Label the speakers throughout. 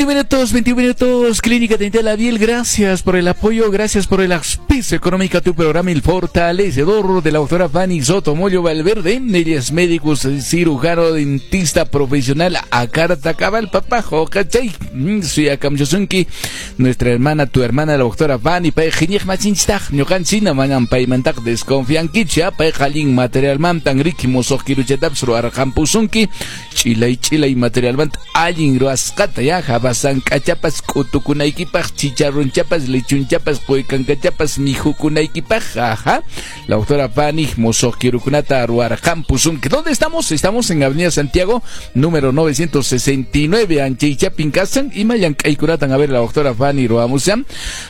Speaker 1: 21 minutos, 21 minutos, Clínica Dental Abiel, gracias por el apoyo, gracias por el auspicio económico a tu programa El Fortalecedor de la doctora Fanny Sotomoyo Valverde. Ella es médico, cirujano, dentista profesional, a carta cabal, papá, jocachay, suyakamusunki, nuestra hermana, tu hermana, la doctora Fanny, pay iñiq masinchistaq, ñuqanchina manan paymantaq desconfiankicha, pay allin materialmantan riki musuq kiruchatapis ruwarqampusunki, ch'ilay ch'ilay materialmanta allin ruwasqata ya, habasank'achapas k'utukunaykipaq, chicharronchapas, lechunchapas, quykankachapas mijukunaykipaq, ajá. La doctora Fanny musuq kirukunata ruwarqampusunki. ¿Dónde estamos? Estamos en Avenida Santiago, número 969, Anchaychapin kasan, ima llank'aykunatan a ver la doctora Fanny ruwamushan.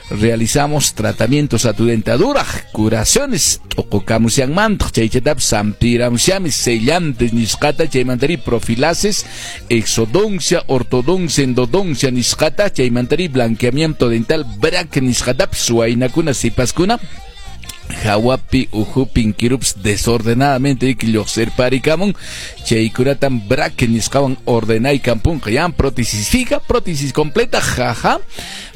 Speaker 1: Realizamos tratamientos a tu dentadura, curaciones, t'uqukamushanmantaq, chaychatapis sampiramushanmi, sellantes nisqata, chaymantari profilaxis, exodoncia, ortodoncia, endodoncia nisqata, chaymantari blanqueamiento dental, braque nisqatapis, waynakuna, sipaskuna, hawapi ukhupin kirups desordenadamente iki lluqsirparikamun, chaykunatan braque nisqawan ordenaykampunqa, yan prótesis fija, prótesis completa, jaja,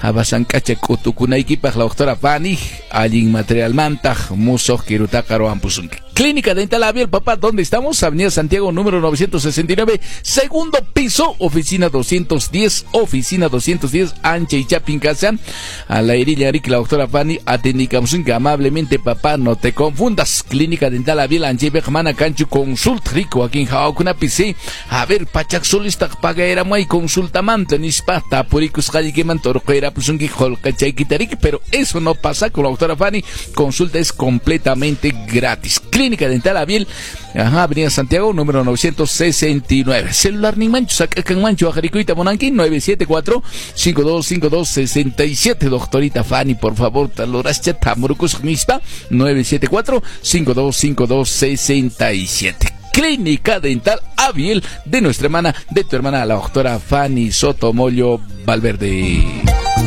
Speaker 1: habasank'acha k'utukunaykipaq la doctora Fanny allin materialmantaq musuq kirutaqa ruwanpusunki. Clínica Dental Abiel, papá, ¿dónde estamos? Avenida Santiago, número 969, segundo piso, oficina 210, oficina 210, Anchaychapin kashan, a la erilla Rick, la doctora Fanny, atendikamusunki amablemente, papá, no te confundas. Clínica Dental Abiel, Anchaypiqa mana kanchu consulta, rico, wakin hawakunapi, sí. A ver, pachak solistaq pagayramay consultamanta, nispa, tapurikusqallikimanta urquyrapusunki qullqichaykita riki, pero eso no pasa con la doctora Fanny, consulta es completamente gratis. Clínica Dental Abiel, ajá, Avenida Santiago, número 969. Celular ninmanchu, sak'akanmanchu, waqharikuyta munanki, 974-5252-67. Doctorita Fanny, por favor, talurascha, tamurukusaq nispa, 974-5252-67. Clínica Dental Abiel de nuestra hermana, de tu hermana, la doctora Fanny Sotomoyo Valverde.